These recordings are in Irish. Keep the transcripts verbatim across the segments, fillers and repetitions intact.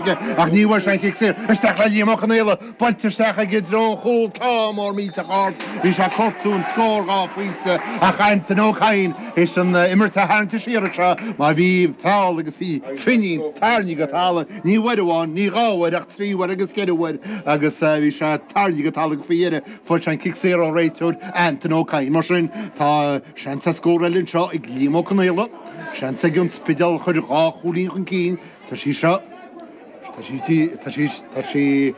Ach ní bhfuair sé an cic saor isteach le Liam Ó Conaola, buailte isteach aige i dtreo an chúil, ceann mór millteach ard. Bhí sé ag cuartú an scór dhá phointe ach Antaine Ó Cadhain théis an imirt a tharraingt siar anseo mar bhí feall agus bhí Finín tarraingthe go talamh, ní uair amháin, ní dhá uair ach trí uair agus ceithre uair agus bhí sé tarraingthe go talamh agus faoi dheireadh fuair sé an cic saor ón réiteoir Antaine Ó Cadhain. Mar sin tá seans ar scór eile anseo ag Liam Ó Conaola, seans ag an Spidéal a chur dhá chúilín chun cinn. Tá sí seo. Tá sí, tá sí, tá sí,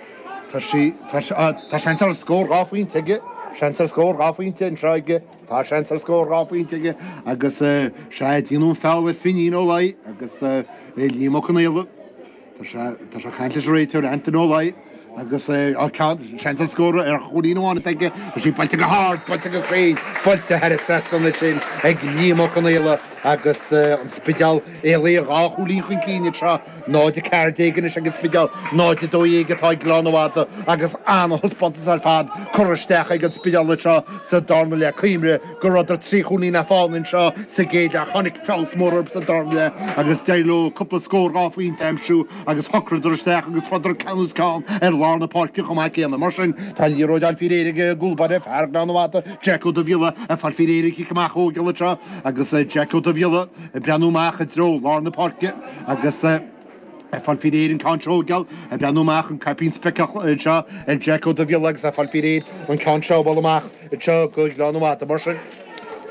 tá sí, tá sí, tá seans ar scór dhá phointe aige, seans ar scór dhá phointe anseo aige, tá seans ar scór dhá phointe aige agus sea, déanadh an feall ar Finín Ó Laoi agus Liam Ó Conaola. Tá sé, tá sé ag caint leis an réiteoir Antaine Ó Laoi agus seans ar scór ar chúilín amháin atá aige, tá sí buailte go hard, buailte go cruinn, buailte thar an trasnán ansin ag Liam Ó Conaola agus an Spidéal éalaithe dhá chúilín chun cinn anseo. náid a ceathair déag anois ag an Spidéal, náid a dó dhéag atá ag Gleann an Fhada agus ana-thaispeántas ar fad curtha isteach ag an Spidéal anseo sa darna leath. Cuimhnigh go rabhadar trí chúilín le fána anseo sa gcéad leath. Tháinig feabhas mór orthu sa darna leath agus d'éirigh leo cúpla scór dhá phointe a aimsiú agus shocraíodar isteach agus fuaireadar ceann os cionn ar lár na páirce chomh maith céanna. Mar sin, tá an liathróid á fáil faoi réir ag an gcúl báire, fear Ghleann an Fhada, Jack Ó Dubhghiolla, ag fáil faoi réir an chic amach a thógáil anseo agus Jack Ó Dubhghiolla ag breathnú amach i dtreo lár na páirce agus ag fáil faoi réir an ceann seo a thógáil, ag breathnú amach an caipín speiceach anseo ar Jack Ó Dubhghiolla agus ag fáil faoi réir an ceann seo a bhualadh amach anseo go Gleann an Fhada. Mar sin,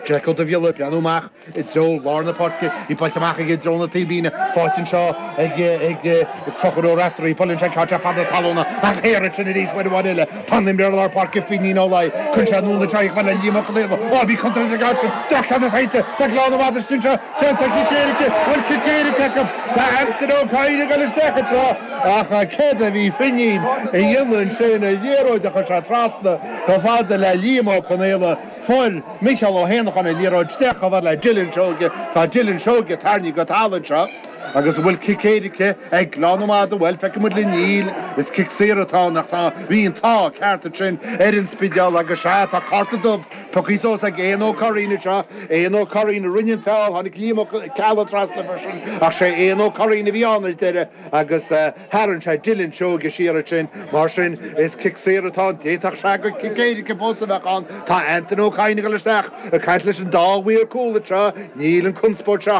Jack Ó Dubhghiolla ag breathnú amach i dtreo lár na páirce, í buailte amach aige i dtreo na taobhlíne, faighte anseo ag ag Conchúr Ó Raiftearaí, buaileann sé an ceann seo fada talúna ach thiar ansin arís uair amháin eile. Tá an imreoir lár páirce Finín Ó Laoi, cuireann sé anonn anseo í chomh fada le Liam Ó Conaola. Ó, bhí contúirt ag an gceann sin, droch-cheann faighte, tá Gleann an Fhada istigh anseo, Seans ar chic éirice, bhfuil cic éirice acu? Tá Antaine Ó Cadhain ag dul isteach anseo ach céard a bhí Finín a dhéanamh ansin, an liathróid a chuir sé trasna chomh fada le Liam Ó Conaola, fuair Micheál Ó hÉanacháin an liathróid isteach chomh fada le Dylan Seoige, tá Dylan Seoige tarraingthe go talamh anseo agus an bhfuil cic éirice ag Gleann an Fhada? Bhuel, feicfidh muid linn, níl, is cic saor atá ann ach tá, bhí an t-ádh ceart ansin ar an Spidéal agus sea, tá cárta dubh Tugtha suas ag Éanna Ó Curraoin anseo. Éanna Ó Curraoin a rinne an feall. Tháinig Liam Ó Ceallaigh trasna freisin ach sé Éanna Ó Curraoin a bhí ann ar deireadh agus tharraing sé Dylan Seoige siar ansin. Mar sin, is cic saor atá ann. D'fhéadfadh sé gur cic éirice fós a bheadh ann. Tá Antaine Ó Cadhain ag dul isteach ag caint leis an dá mhaor cúil anseo. Níl an conspóid seo